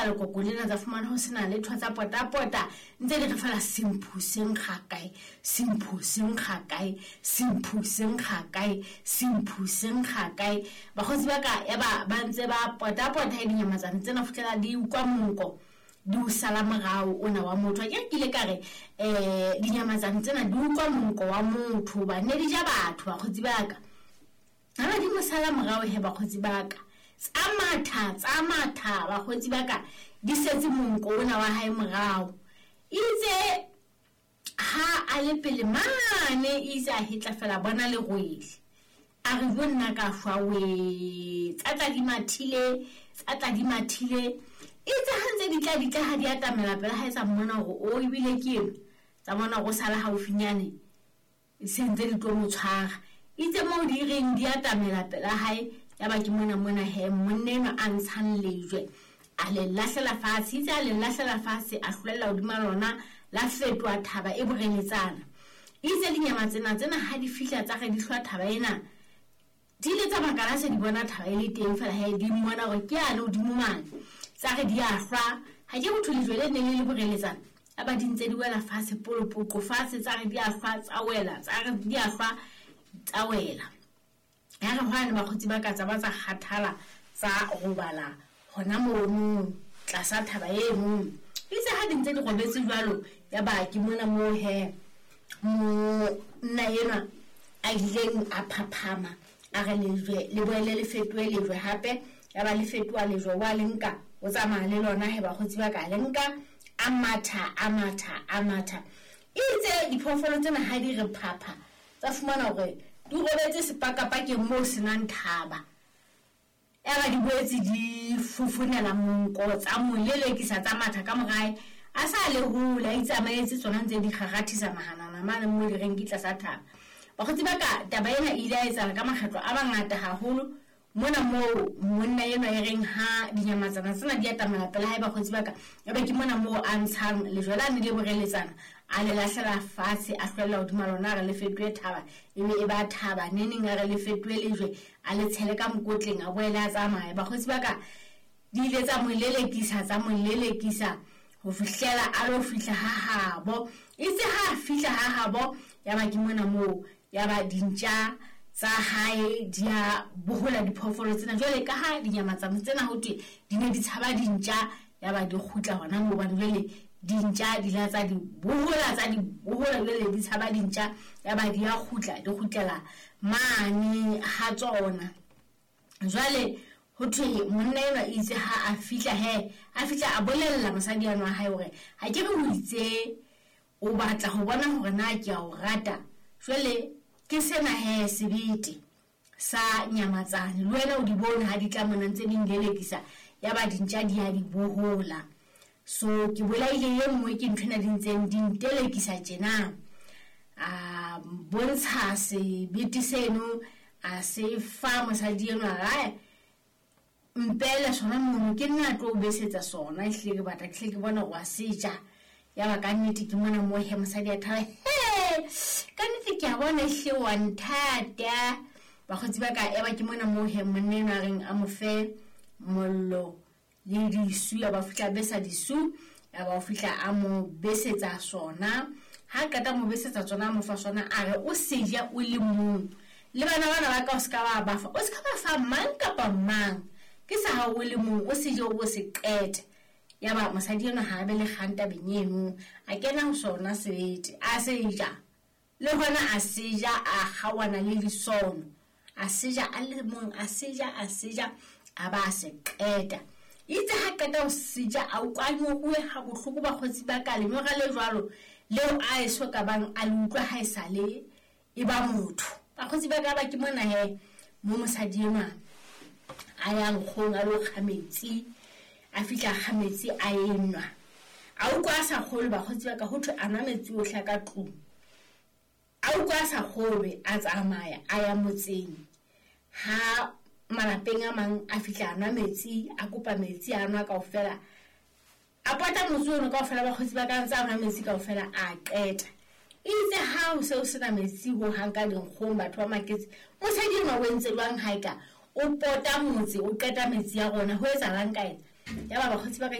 lekoko lena, tsa fumana ho sena letho, tsa potapota ntse di re fela semphu se nkga kae, semphu se nkga kae, semphu se nkga kae, semphu se nkga kae. Bakgotsi ba ka ya ba ba ntse ba potapota dinyamatsane tsena fitlhela di utlwa monko, di o sala morao ona wa motho. Ke kile ka re dinyamatsane tsena di utlwa monko wa motho, ba ne di ja batho. Bakgotsi ba ka ha ba di mo sala morao he, bakgotsi ba ka tsa matha, tsa matha, bakgotsi ba ka di setse monko ona wa hae morao. Itse ha a le pele mane, itse a hetla fela bona lerwele, a re bo nna ka shwa we, tsa tla di mathile, tsa tla di mathile. Itse ha ntse di tla di tla, ha di atamela pele ha etsa mmona hore o ebile ke eno, tsa bona go sala haufinyane se ntse di tlo mo tshwara. Itse moo di reng di atamela pela hae, ya ba ke mona mona he monna enwa a ntshang lejwe a le lahlela fatshe. Itse a le lahlela fatshe, a hlwella hodima lona, la fetoha thaba e boreletsana. Itse dinyama tsena tsena ha di fihla tsa re di hlwa thaba ena, di ile tsa makala se di bona thaba e le teng fela he, di mmona hore ke yane hodimo mane, tsa re di a hlwa. Ha ke motho lejwe le ne le le boreletsana, a ba di ntse di wela fatshe polopoqo fatshe, tsa re di a hlwa tsa wela, tsa re di a hlwa tsa wela. Ya re hwane bakgotsi ba ka tsa ba tsa kgathala, tsa robala hona mono tlasa thaba eno. Itse ha di ntse di robetse jwalo, ya ba ke mona moo he monna enwa a ileng a phaphama, a re lejwe le boele le fetohe lejwe hape. Ya ba le fetoha lejwe, wa le nka o tsamaya le lona he, bakgotsi ba ka le nka a matha, a matha, a matha. Itse diphoofolo tsena ha di re phapha, tsa fumana hore di robetse sepakapakeng moo senang thaba. Ya ba di boetse di fofonela monko, tsa mo lelekisa, tsa matha ka morae, a sa le hole, a itsamaetse tsona ntse di kgarathisa mahanana mane mo di reng ke tlasa thaba. Bakgotsi ba ka taba ena e ile ya etsahala ka makgetlo a mangata haholo mona moo monna enwa e reng ha dinyamatsana tsena di atamela pela hae, bakgotsi ba ka ya ba ke mona moo a ntshang lejwe lane le boreletsana, a le lahlela fatshe, a hlwella hodima lona, a re le fetohe thaba, e be e ba thaba. Neneng a re le fetohe lejwe, a le tshele ka mokotleng, a boele a tsamaye. Bakgotsi ba ka di ile tsa mo lelekisa, tsa mo lelekisa ho fihlela a lo fihla ha habo. Itse ha a fihla ha habo, ya ba ke mona moo ya ba dintja tsa hae di a bohola diphoofolo tsena. Jwale ka ha dinyamatsane tsena ho thwe di ne di tshaba dintja, ya ba di kgutla hona moo, hobane jwale dintja di la tsa di bohola, tsa di bohola, jwale di tshaba dintja, ya ba di a kgutla, di kgutlela mane ha tsona. Jwale ho thwe monna enwa itse ha a fihla he, a fihla a bolella mosadi eno wa hae hore ha ke re o itse o batla ho bona hore na ke a o rata, jwale ke sena he sebete sa nyamatsane, le wena o di bone ha di tla mona ntse di nlelekisa, ya ba dintja di a di bohola. So ke bolaile e nngwe ke nthwena di ntseng di ntelekisa tjena. A bontsha sebete seno, a se fa mosadi enwa, a mpele sona mono, ke nna tlo besetsa sona, ehlile ke batla ke hle ke bona hore wa se ja. Ya ba ka nnete ke mona moo he mosadi a thaba, he ka nnete ke a bona ehlile wa nthata. Bakgotsi ba ka ya ba ke mona moo he monna enwa a reng a mo fe mollo le disu, ya ba fihla besa disu, ya ba o fihla a mo besetsa sona. Ha qeta mo besetsa tsona, a mo fa sona, a re o se ja o le mong, le bana bana ba ka o se ka ba ba fa, o se ka ba fa mang kapa mang, ke sa hao o le mong, o se je o bo se qete. Ya ba mosadi enwa ha a be le kgang tabeng eno, a kena ho sona sebete, a se ja, le hona a se ja, a kgaohana le disono, a se ja a le mong, a se ja, a se ja, a ba a se qeta. Itse ha qeta ho se ja, a utlwa a nyoruwe ha bohloko, bakgotsi ba ka lenyora le jwalo leo a eso ka bang a le utlwa ha e sa le e ba motho. Bakgotsi ba ka ba ke mona he mo mosadi enwa a yang kgong a lo kga metsi, a fihla a kga metsi a enwa, a utlwa a sa kgolwe. Bakgotsi ba ka ho thwe a nwa metsi ohle a ka tlung, a utlwa a sa kgolwe, a tsamaya a ya motseng ha malapeng a mang, a fihla a nwa metsi, a kopa metsi a nwa kaofela, a pota motse ono kaofela. Bakgotsi ba ka ntse a nwa metsi kaofela, a qeta. Itse ha o se o sena metsi ho hang ka dinkgong, batho ba maketse, mosadi enwa o entse jwang ha eka o pota motse o qeta metsi a rona, ho etsahalang ka ena? Ya ba bakgotsi ba ka